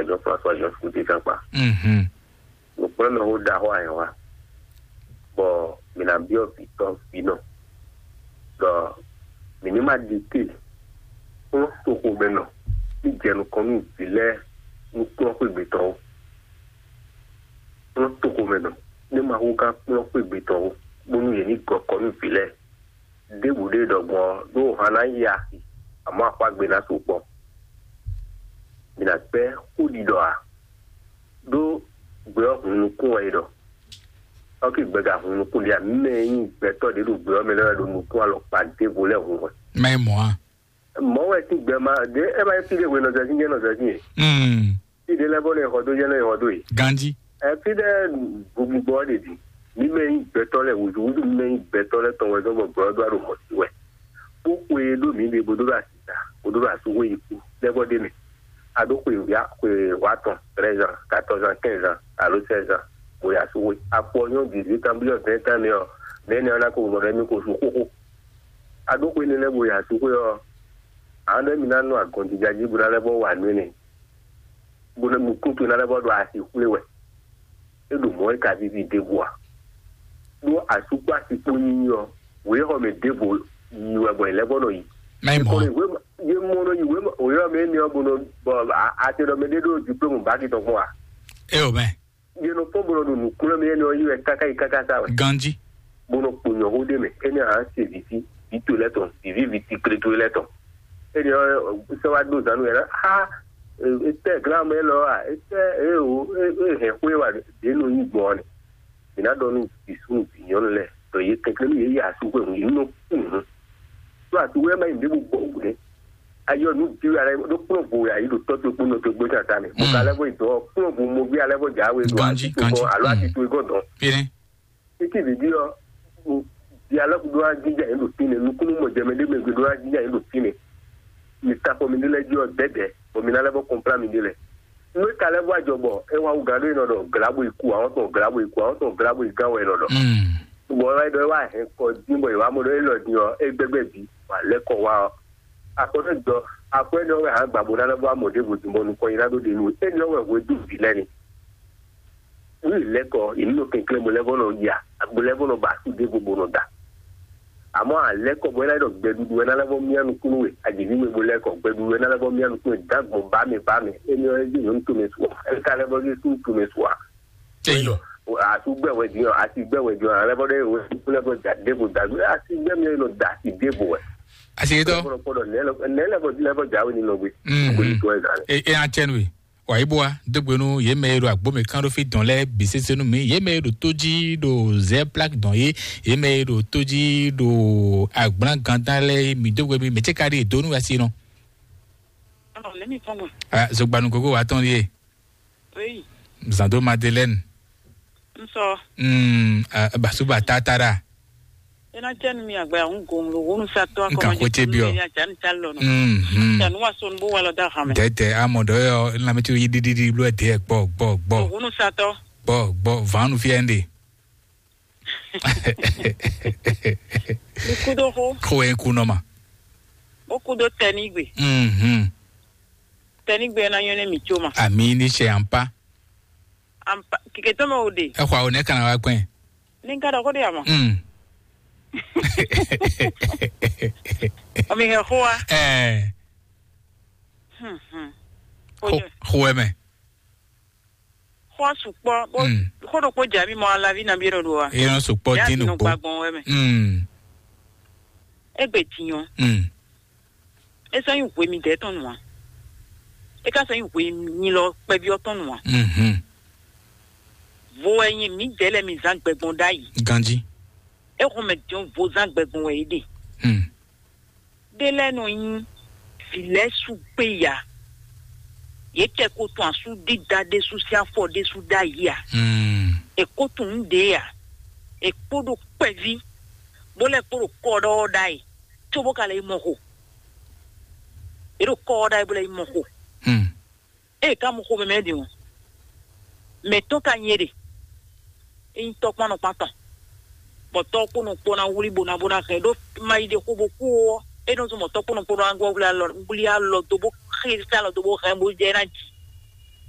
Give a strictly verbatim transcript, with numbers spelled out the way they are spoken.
Jean François Jean Scouté Sankpa. Mhm. Nǔkplɔ́nmɛxó ɖaxó ayǐhɔ́n, bɔ mǐ ná byɔ́ vǐ tɔn vǐ nɔ, ɖɔ mǐ ní ma ɖi te kplɔ́n toxomɛnɔ ní jɛ nukɔn nú vǐ lɛ́ɛ nú kplɔ́n xwé gbe tɔn ó. Kplɔ́n toxomɛnɔ ní ma hú gán kplɔ́n xwé gbe tɔn ó, bónú yě ní gɔ kɔ nú vǐ lɛ́ɛ. Ɖěbǔ ɖé ɖɔ gbɔn ɔ́, ɖó han ná yi axi, amɔ̌ axwágbe ná sukpɔ́. Mǐ ná gbɛ́ xó ɖiɖɔ ǎ, ɖó gbɛ ɔ́ hun nukún wɛ é ɖɔ. Ɔ́ ké gbɛ ka hun nukún ɖé ǎ, mɛ e nyí gbɛtɔ́ ɖě ɖo gbɛ ɔ́ mɛ lɛ́ɛ wɛ ɖo nukún alɔkpa ɖěvo lɛ́ɛ hun wɛ. Má yi mɔ̌ a? Mɔ̌ wɛ sín gbɛ ma ɖě é ma nyí fí ɖé hwe nɔ zɛ sín jɛ́n nɔ zɛ sín e. Mm. Fí ɖé lɛ́ɛ bɔ nɔ e xɔ dó jɛ́n nɔ e xɔ dó e. Ganjí. Ɛ fí ɖé gbogbo ɔ́ ɖe ɖi. Mǐ mɛ nyí gbɛtɔ́ lɛ́ɛ wǔzúwúzú, mǐ mɛ nyí gbɛtɔ́ lɛ́ɛ tɔn wɛ zɔ́n bɔ gbɛ ɔ́ ɖó alɔ mɔ̌ sí wɛ. Bó xwe e ɖó mǐ ɖe bó ɖó ɖo asita, bó ɖó ɖo asúxwé yi kú, lɛ́ bɔ ɖ'é mɛ. A ɖó xwe wǐ xwe wá tɔn, treize ans, quatorze ans, quinze ans, alo seize ans, bó yi asúxwé. Akpɔ nyɔ́ dix-huit ans, blí ɔ́, vingt ans nɛ́ ɔ́, nɛ̌ nɛ́ ɔ́ ná ko mɔ ɖɔ émí ko sú xóxó. A ɖó xwe énɛ́ lɛ́ɛ bó yi asúxwé ɔ́, a nɔ ɖɔ émí ná nɔ agɔnjija jí bó ná lɛ́ bɔ wa nǔ énɛ́, bó ná nukún towe ná lɛ́ bɔ ɖo asi xwlé wɛ. É ɖo mɔ̌ é ka víví ɖěbǔ ǎ. Ɖó asú kpó asi kpó nyinyi ɔ́, wěxɔ mɛ ɖěvo yi wɛ bɔ è lɛ́ bɔ nɔ yi. Má yi mɔ̌. Yě mɔ nɔ yi wěxɔ mɛ énɛ́ ɔ́ bó nɔ bɔ ate ɖɔ mɛ ɖé ɖó diplôme baki tɔn kpɔ́n a? É o mɛ. Yě nɔ fɔ́n bó nɔ ɖo nǔkplɔ́n mɛ énɛ́ ɔ́ yi wɛ káká yi káká sá wɛ. Ganjí. Bó nɔ kpo nyɔ̌xó ɖé mɛ, énɛ́ ǎ se vǐ sí vǐ to lɛ́ɛ tɔn, vǐví vǐ tiklétowe lɛ́ɛ tɔn. Énɛ́ ɔ́ sɛ wá ɖó zǎn nú yɛ ɖɔ xá, etɛ́ glán mɛ élɔ́ a? Etɛ́ eo e hɛn xwé wa ɖě nɔ nyí gbɔn ɔ́ nɛ. Mǐ ná ɖɔ nú vǐ súnnu vǐ nyɔ̌nu lɛ́ɛ ɖɔ yě kɛnklɛ́n nú yě yi asúxwé hǔn, yě nɔ kú hǔn. Ɖó asúxwé ɔ́ má nyí nǔɖé bó gbɔ wǔ nɛ́. Ayɔ nǔ byɔ́ ya ɖó kplɔ́n vo ya yi ɖo tɔ́ towe kpó nɔ towe kpó tata mɛ. Mo ka lɛ́ bɔ yi dɔn kplɔ́n vo moví alɛ́ bɔ jǎwe ɖo Ganjí, así towe gɔ́n alo así towe gɔ́n dɔn. Fínɛ́. Títí vǐví ɔ́, di alɔ́ ɖó wá jínjɔ́n ayǐ ɖo fínɛ́, nukúnnú mɔ jɛmɛ ɖé mɛ gbe ɖó wá jínjɔ́n ayǐ ɖo fínɛ́. Mi ta xɔ mi ɖé lɛ́ɛ jí ɔ́ dɛ̌dɛ̌, bɔ mi ná lɛ́ bɔ kɔnplá mi ɖé lɛ́ɛ. Nú é ka lɛ́ vɔ ajɔ bɔ é wá wú gǎn ɖó e nɔ ɖɔ glǎbo yi ku, àwọn tɔn glǎbo yi ku, àwọn tɔn glǎbo yi gán wɛ è nɔ ɖɔ. Bɔ é wá ɖɔ é wá hɛn kɔ dín bɔ è wá mɔ ɖɔ é lɔ din ɔ́, é gbɛgbɛ bǐ, wǎ lɛ́ kɔ wá ɔ́. Akɔtɔ́ jɔ akwɛ́ nɔ wɛ hǎn gbǎ bó ná lɛ́ vɔ amɔ ɖěvo din bɔ nukɔn nyi ná ɖó ɖe nú é nɔ wɛ hwedó vǐ lɛ́ɛ ni. Wí lɛ́kɔ yě ní nɔ kɛnklɛ́n bó lɛ́ vɔ nɔ ya bó lɛ́ vɔ nɔ ba asú ɖěvo bó nɔ da. Àmọ́ àlɛ́kɔ bɔ é ná ɖɔ gbɛɖuɖu wɛ ná lɛ́ vɔ mía nukúnnú we, aɖǐví we bó lɛ́kɔ gbɛɖuɖu wɛ ná lɛ́ vɔ mía nukúnnú we dǎgbɔn bá mɛ bá mɛ. Énɛ́ ɔ́ é jí nyɔ̌nu tomɛ su ɔ́, é ka lɛ́ vɔ zé súnnu tomɛ su ǎ. Eyɔ. Asú gbɛ wɛ din ɔ́, asi gbɛ wɛ din ɔ́, alɛ bɔ ɖe wɛ kúlɛ bɔ da ɖěvo da gbé asi gbɛ mi nɔ da asi ɖěvo wɛ. Asi yetɔ. Kpɔɖɔ kpɔɖɔ nɛ lɛ nɛ lɛ bɔ lɛ bɔ jawe ni nɔ gbé. Mhm. Gbé ni tɔ ɛ zan. E e atsɛnu e. Wa yi bɔ wa dogbe nu ye mɛ ye ɖo agbo mɛ kan ɖo fi dɔn lɛ bi sese nu mi ye mɛ ye ɖo to ji ɖo zɛ plak dɔn ye ye mɛ ye ɖo to ji ɖo agblã gandan lɛ mi dogbe mi mɛ tse ka ɖi do nu asi nɔ. Alo, ne mi fɔn ma. Ah, zogbanu gogo wa tɔn ye. Oui. Zando Madeleine. N sɔ. Mm, ah, basuba tatara. Ena cɛ nu mi agba ya ŋu gɔn lo wonu sa tɔ akɔ. Nkan ko te biɔ. Ya jan ta lɔ no. Mhm. Ya nu wa son bo wala da ha me. Dede amɔ dɔ yo na mi tu yi di di di blo de gbɔ gbɔ gbɔ. Wonu sa tɔ. Gbɔ gbɔ vanu fi ende. Kudo ho. Ko en ku no ma. O kudo tɛnigbe. Mhm. Tɛnigbe na yɔn ne mi tso ma. Ami ni se ampa. Ampa kike tɔmɛ o de. Exɔ awo ne kana wa gbɛn. Ni n ka ɖɔ xó ɖe ama. Mm. Ɔmi hɛ xó wa. Ɛɛ. Hmm, hmm. Xó xó ɛmɛ. Xó sukpɔ. Xó ɖokpó dza mi mɔ alavi na bi ɖo ɖo wa. Yɛn sukpɔ dín nukpó. Gbagbɔn wɛ mɛ. Mm. Egbe tiɲɔ. Mm. É sɔ́ nyí hwe midɛɛ tɔn nǔ ǎ. É ka sɔ́ nyí hwe nyilɔ kpɛví ɔ́ tɔn nǔ ǎ. Mhm. Vo wɛ nyi mǐdɛɛ lɛ́ɛ mi zán gbɛgbɔn ɖ'ayǐ. Ganjí. É xɔn mɛ din vo zán gbɛgbɔn wɛ é ɖe. Mm. Ɖé lɛ́ɛ nɔ nyí vǐ lɛ́ɛ sú gbé ya. Yě kɛ ko tun asú dídá ɖésú sín afɔ ɖésú ɖ'ayǐ ǎ. Mm. È ko tunwun nǔ ɖě ǎ. È kpo ɖo kpɛví, bó lɛ́ kpo ɖo kɔ ɖɔ ɔ́ ɖ'ayǐ, cóbó ka lɛ́ yi mɔ xo. È ɖo kɔ ɔ́ ɖ'ayǐ bó lɛ́ yi mɔ xo. Hmm. Ée ka mɔ xo mɛmɛ ɖe o. Mɛ tɔn ka nyɛ ɖe. É nyí tɔ́ kpán nɔ kpán tɔn. Bɔ tɔ́ kpó nɔ kpó ná wlí bó ná bó ná hɛn ɖó ma yi ɖe xó bó kú ɔ́. É nɔ zɔn mɔ tɔ́ kpó nɔ kpó ná wlí alɔ wlí alɔ dó bó xé alɔ dó bó hɛn bó jɛ ná jì.